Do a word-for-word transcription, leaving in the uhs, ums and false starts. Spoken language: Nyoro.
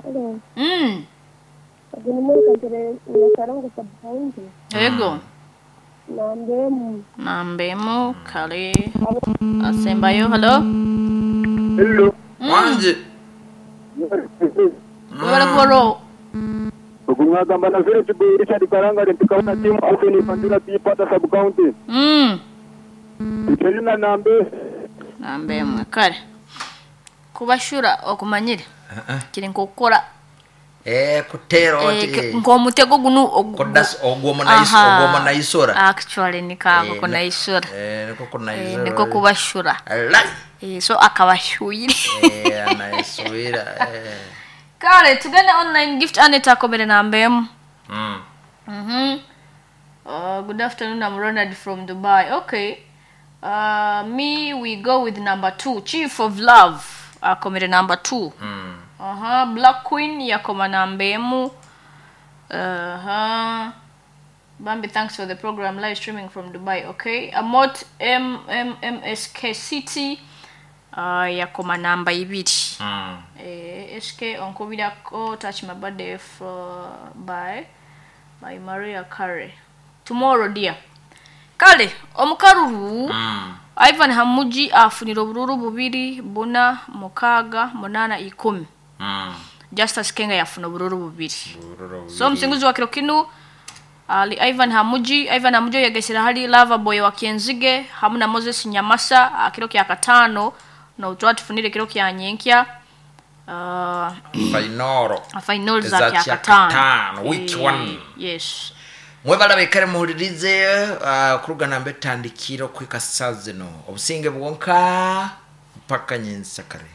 Hello. Mm. Ogumukagire Nyakarongo sub county. Ego. Nambemu. Nambemu kale asembayo hello. Hello. Wanje. Webale kuwaro. Okumwagamba na vile chibu Richard Karanga ntikabona timu Alvin Pandura Pata sub county. Mm. Itelina nambe. Nambemu kale. Kubashura okumanyire. Kiri nkokora Eh kutera oti. Eh, nk'omutego guno Kodas ogwo munaisora ogwo munaisora. Actually nikako Eh, kunaisora. Eh niko Eh, kunaisora. niko kubashura. Alai. Eh, so akabashuire. Eh anaiswira. Eh. Kale tugende online gift Aneta akomere nambemu. Mm. Mhm. Uh, good afternoon, I'm Ronald from Dubai. Okay. Uh, me, we go with number two, Chief of Love. Akomere number two. Mm. Uh-huh. Black Queen yakoma namba emu. Uh-huh. Bambi, thanks for the program. Live streaming from Dubai. Okay. Amot M M M S K City. Uh, yakoma namba ibiri. Mm. Eh, S K onkubirako touch my birthday for by by Maria Carey. Tomorrow dear. Kale omukaruru Mm. Ivan Hamuji afunira obururu bubiri buna mukaaga munana ikumi. Mm. Justus Kenga yafuna obururu bubiri. Bururu So omusinguzi wa kiro kinu ali Ivan Hamuji, Ivan Hamuji yegesera hali Lava Boy wa Kienzige hamu na Moses Nyamasa akiro kya katano na utwa tufunire kiro kya nyenkya. Uh, Fainoro. final za Za kya kya katano. katano, week Eh, one. Yes. Mwebala bekare muhulirize uh, kuruga nambe tandikiro kwika saa zino obusinge bwonka mpaka nyinsakare.